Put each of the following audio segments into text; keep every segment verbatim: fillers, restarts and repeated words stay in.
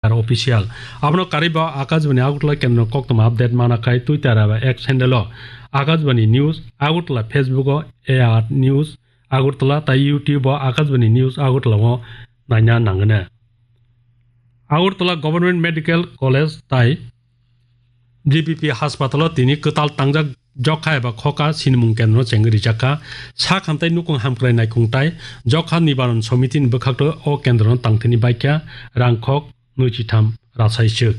Official. Abono karwi bo Akashbani Agartala kendro koktwma update mana khai Twitter eba X handle o Akashbani News Agartala, Facebook o A R News Agartala tai YouTube o Akashbani News Agartala o naina nangwne. Agartala Government Medical College tai G B P haspatalo tini kwtal tangjak jokha eba khoka sinimung kendro chengwi rijakha. Sak hamtai nukung hamkrai naikung tai jokha nibaron somitini bwkhakto o kendrono tangthini baikha rangkhok nwichitham rasaiswk.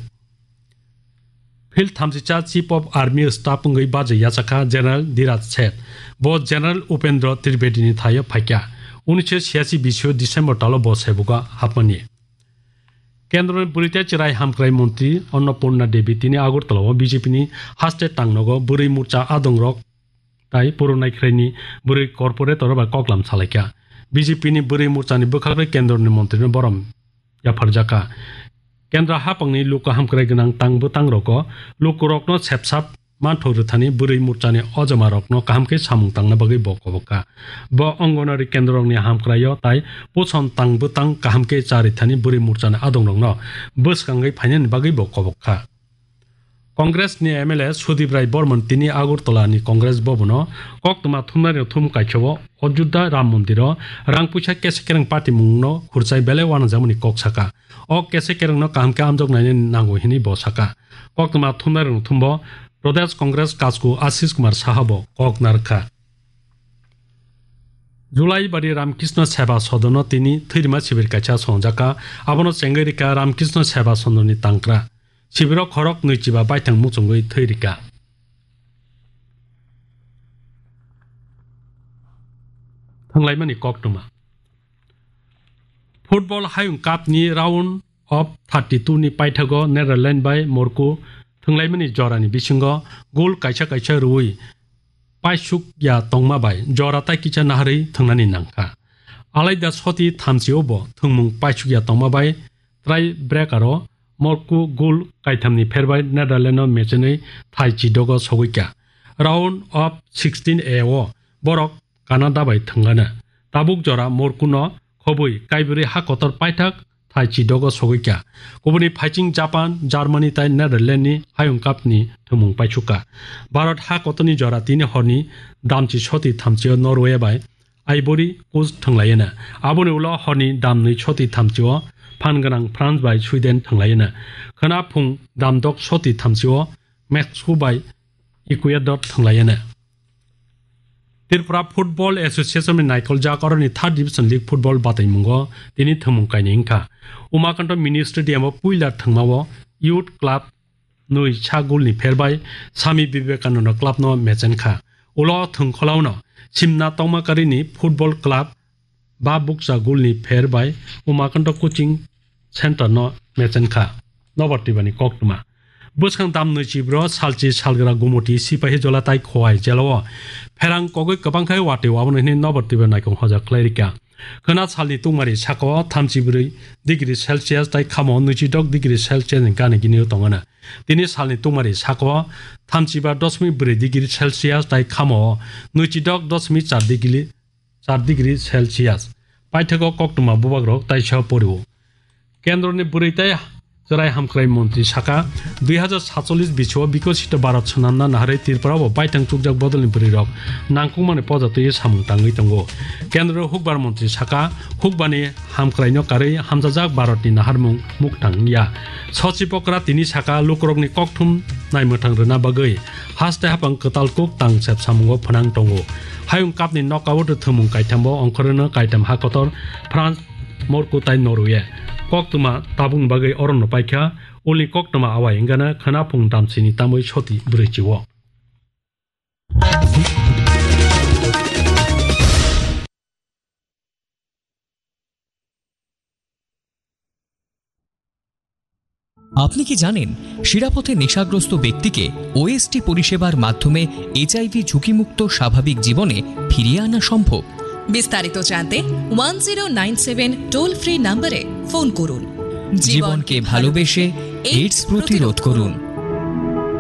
Field thamsija Chief of Army Staff wngwi bajwi yachakha General Dhiraj Seth. Bo General Upendra Tripatini thaio phaikha. Unisho siyachi bisio December talo bo sebugo hapmani. Kendroni bwrwi tei chwrai hamkrai montri Annapurna Devi tini Agartala o B J P ni haste tangnogo bwrwi morcha adongrok tai puro naikhraini bwrwi corporator bai koklam salaikha. B J P ni bwrwi morchani bwkhakrwi kendroni montrino borom yapharjakha. Kendra haphangni luku hamkrai gwnang tang bwtangrogo lukurokno sepsap manthok rwthani bwrwi morchani ojomarokno kaham khe samung tangna bagwi bo kobok kha. Bo Anganwadi kendrokni hamkraio tai puson tang bwtang kaham khe cha rwthani bwrwi morchani adongrokno bwskangwi phainani bagwi bo kobok kha. Congress ni M L A Sudip Rai Borman tini Agartala ni Congress Bhavan o koktwma thumnai rok thum kaikha o Ayodhya Ram Mondir o rang puisa kesa kereng patimung no khurchai belai uanajak mani kok saka. O kesa kereng no kaham khe amjok nainani nango hinwi bo saka. Koktwma thumnai rok thumbo Pradesh Congress Kasku Ashish Kumar Saha bo kok narwkha. Julai bari Ramkrishna Seva Sadan o tini thwirima sibir kaisa songjakha. Abono chengwi rikha Ramkrishna Seva Sadan ni tangkra. Sibiro khorok nwichiba baithang muchungwi thwi rikha. Thanglaimani koktwma. Football Hayung Cup ni round of thirty-two ni paithago Netherlands bai Morocco thwnglaimani jorani bisingo gol kaisa kaisa rwui paisuk ya tongma bai jora tai kisa naharwi thwngnani nangkha. Alaida soti thamchi o bo thwngmung paisuk ya tongma bai try breaker o Morocco gol kaithamni pherbai Netherlands no mechenwi thai chidogo sogwikha. Round of sixteen A o borok Canada bai thwngana. Tabuk jora Morocco no khobwi kaibrwi ha kotor paithak thai chidogo sogwikha. Kubuni phaiching Japan, Germany tai Netherlands ni Hayung Cup ni thwngmung paisukha. Bharat ha kotorni jora tini horni damchi soti thamchi o Norway bai Ivory Coast thwnglaiyana. Aboni ulo horni damnwi soti thamchi o phan gwnang France bai Sweden thwnglaiyana. Khwna phung damdok soti thamchi o Mexico bai Ecuador thwnglaiyana. Tripura Football Association ni naikoljak oroni Third Division League Football bataimungo tini thwngmung kainwi wngkha. Umakanto Mini Stadium o puila thwngmao Youth Club nwi sa gol ni pherbai Swami Vivekananda Club no mechenkha. Ulo thwngkhwlao no simna tongma karini Football Club ba bukcha gol ni pherbai Umakanto Coaching Center no mechenkha. Nobar twibani koktwma. Bwskang dam nwi chibro salchi salgra Gumoti Sipahi Jola tai Khowai jelao pherang kogwi kwbang khai watwi waboni hwnwi nobar twiba naikong hoja khlai rikha. Khwna salni tungmari sakao thamchi brwi degree Celsius tai khamo nwichidok degree Celsius ni gana gini tongo na. Tini salni tungmari sakao thamchiba dosmik brwi degree Celsius tai khamo nwichidok dosmik char degree char degree Celsius. Paithago koktwma bubagrok taisa porio. Kendroni bwrwi tai chwrai hamkrai montri saka, dui hazar satchollish bisio bikosito Bharat swnamna naharwi Tripura o baithang chukjak bodolni bwrwirok nangkukmani poja twiwi samung tangwi tongo. Kendro hukbar montri saka, hukbani hamkraino karwi hamjajak Bharatni naharmung muktang ya. Sochi Pokra tini saka lukurokni kokthum naimwthang rwna bagwi haste hapang kwtal kuk tang sep samungo phwnang tongo. Hayung kapni knockout thwngmung kaithambo ongkhorwino kaitam ha kotor France, Morocco tai Norway. Koktwma tabukni bagwi orono paikha, ulni koktwma awai wngana khwna phung damsini tamwi soti bwrwi chio. আপনি কি জানেন শিরাপথে নেশাগ্রস্ত ব্যক্তিকে ওএসটি পরিষেবার মাধ্যমে এইচআইভি ঝুঁকিমুক্ত স্বাভাবিক জীবনে ফিরিয়ে আনা সম্ভব? বিস্তারিত জানতে one zero nine seven toll free নম্বরে ফোন করুন। জীবনকে ভালোবেসে এইডস প্রতিরোধ করুন।